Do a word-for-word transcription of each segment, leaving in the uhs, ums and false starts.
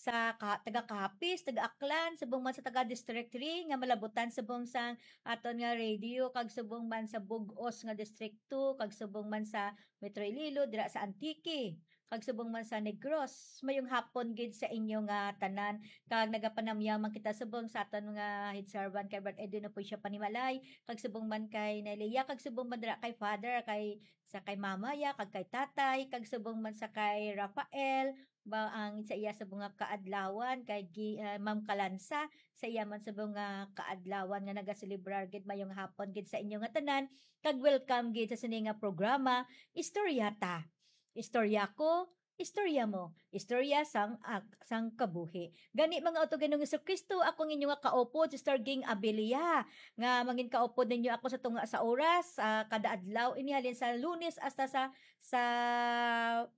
sa ka-, taga Capiz, taga Aklan, subong man sa taga District three nga malabutan subong sang aton nga radio, kag subong man sa bug-os nga District two, kag subong man sa Metro Iloilo, dira sa Antique, kag subong man sa Negros. Mayong hapon gid sa inyo nga tanan, kag nagapanamyaw man kita subong sa aton nga head servant kay Brad Edwin Apoy siya Panimalay, kag subong man kay Nelia, kag subong man dira kay Father, kay sa kay Mama ya, kag kay Tatay, kag subong man sa kay Rafael, ba ang sa iya subong nga kaadlawan, kay gi-, ah, Ma'am Kalansa, sa iya man subong nga kaadlawan nga nagaselebrar gid. Mayong hapon gid sa inyo nga tanan, kag welcome gid sa sini nga programa, Istorya Ta. Istorya ko, istorya mo, istorya sang ak-, sang kabuhi. Gani, mga utod Ginoong Jesu-Cristo, ako ang inyo nga kaupod, Sister Ging Abilia, nga mangin kaupod ninyo ako sa tunga sa oras, ah, kada adlaw, ini halin sa Lunes hasta sa, sa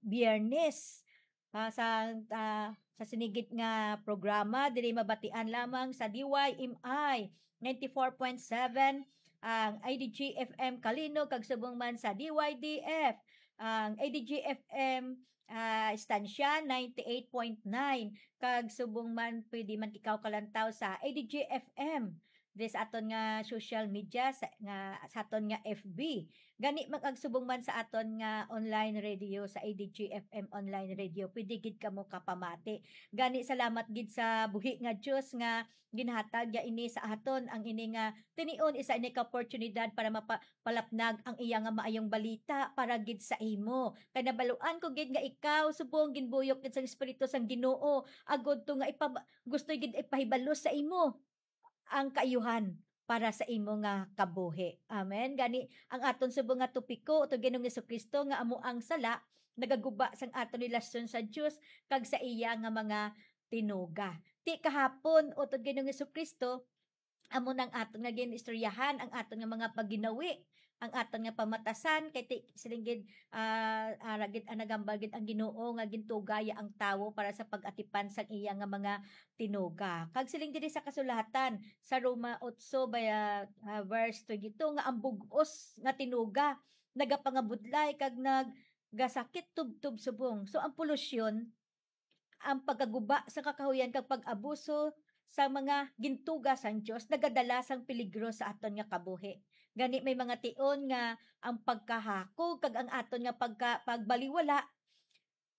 Biyernes. Ah, sa, ah, sa sinigit nga programa, diri mabatian lamang sa D Y M I ninety-four point seven, ang I D G F M Kalinog, kag subong man sa D Y D F, ang I D G F M, ah, Estancia ninety-eight point nine, kag subong man pwede man ikaw kalantaw sa I D G F M, this aton nga social media sa, nga sa aton nga F B. Gani, mag-, agsubong man sa aton nga online radio, sa I D G F M online radio, pwede gid kamo kapamati. Gani, salamat gid sa buhi nga Dios nga ginhatag ya ini sa aton, ang ini nga tinion, isa ini ka oportunidad para mapa-, palapnag ang iya nga maayong balita para gid sa imo. Kay nabaluan ko gid nga ikaw subong ginbuyok gid sang Espiritu sang Ginoo, agud to nga ipab-, gusto gid ipahibalo sa imo ang kaayuhan para sa imo nga kabuhi. Amen. Gani, ang aton subong nga topiko, utod Ginoong Jesu-Cristo, nga amo ang sala, nagaguba sang aton relasyon sa Dios kag sa iya nga mga tinuga. Ti kahapon, utod Ginoong Jesu-Cristo, amo nang aton nga gin-istoryahan, ang aton nga mga paginawi, ang aton nga pamatasan, kay ti, siling gid, ah, ara gid, ang nagambal gid ang Ginoo nga gintuga ya ang tawo para sa pag-atipan sang iya nga mga tinuga. Kag siling diri sa kasulatan, sa Roma otso, ba, ah, verse twenty-two, nga ang bug-os nga tinuga nagapangabudlay kag naggasakit tubtob subong. So, ang polusyon, ang pagkaguba sa kakahuyan kag pag-abuso sa mga gintuga sang Dios nagadala sang peligro sa aton nga kabuhi. Gani, may mga tion nga ang pagkahakog kag ang aton nga pagka-, pagbaliwala,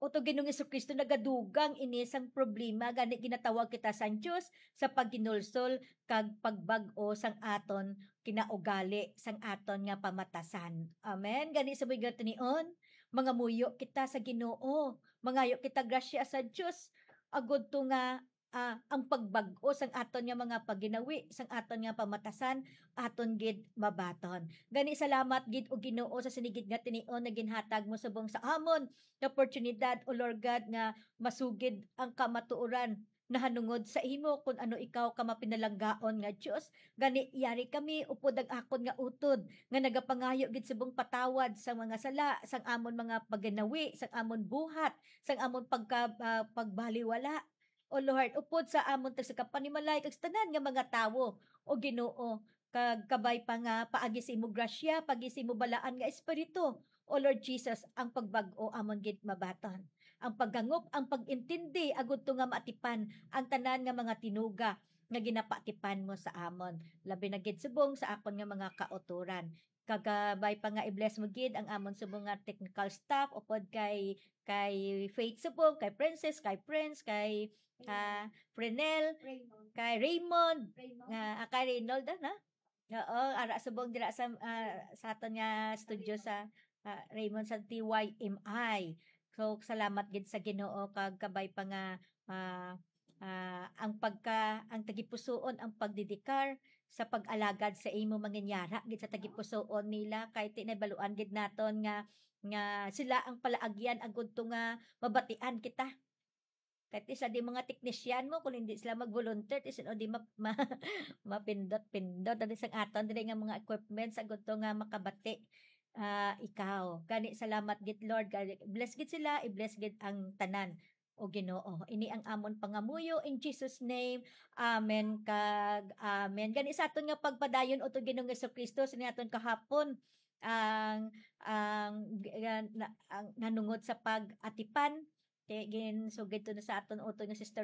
utod Ginoong Jesu-Cristo, nagadugang ini sang problema. Gani, ginatawag kita sang Dios sa paghinulsol kag pagbag-o sang aton kinaugali, sang aton nga pamatasan. Amen. Gani, sa mga tion, mangamuyo kita sa Ginoo. Mangayo kita grasya sa Dios, agud to nga, ah, ang pagbag-o sang aton nga mga paginawi, sang aton nga pamatasan, aton gid mabaton. Gani, salamat gid, O Ginoo, sa sinigit nga tion nga ginhatag mo subong sa amon nga oportunidad, O Lord God, nga masugid ang kamatuoran nahanungod sa imo, kun ano ikaw ka mapinalanggaon nga Dios. Gani, yari kami upod ang akon nga utod, nga nagapangayo gid subong patawad sa mga sala, sang amon mga paginawi, sang amon buhat, sang amon pagka-, ah, pagbaliwala. O Lord, upod sa amon tagsakapanimalay kag sa tanan nga mga tawo, O Ginoo, kag kabay pa nga paagi sa imo grasya, paagi sa imo balaan nga Espiritu, O Lord Jesus, ang pagbag-o amon gid mabaton. Ang paghangop, ang pag-intindi, agud to nga maatipan ang tanan nga mga tinuga nga ginapaatipan mo sa amon. Labi na gid subong sa akon nga mga kautoran. Kag kabay pa nga i-bless mo gid ang amon subong nga technical staff, upod kay, kay Faith subong, kay Princess, kay Prince, kay, ah, Frenel, Raymond. Kay Raymond, Raymond. Nga, ah, kay Reynold, ah, na? Oo, ara subong dira sa, ah, sa aton nga studio sa, ah, Raymond sa T Y M I. So, salamat gid sa Ginoo kag kabay pa nga, ah, ah, ang pagka-, ang tagipusoon, ang pagdedikar sa pag-alagad sa imo, manginyara gid sa tagipusoon nila, kay ti nabaluan gid naton nga, nga sila ang palaagyan agud to nga mabatian kita. Kay ti sila di mga teknisyan mo, kung hindi sila mag-volunteer, ti sino di ma-, ma-, mapindot-pindot. Dali sang aton, dili nga mga equipments, agud to nga makabati, ah, ikaw. Gani, salamat gid, Lord. Gani, bless gid sila, i-bless gid ang tanan, O Ginoo. Ini ang amon pangamuyo, in Jesus' name. Amen kag amen. Gani, sa aton nga pagpadayon, utod Ginoong Jesu-Cristo, sini aton kahapon, ang, ang, ang, na-, ang nanungod sa pag-atipan, kay ginsugid to na sa aton utod nga Sister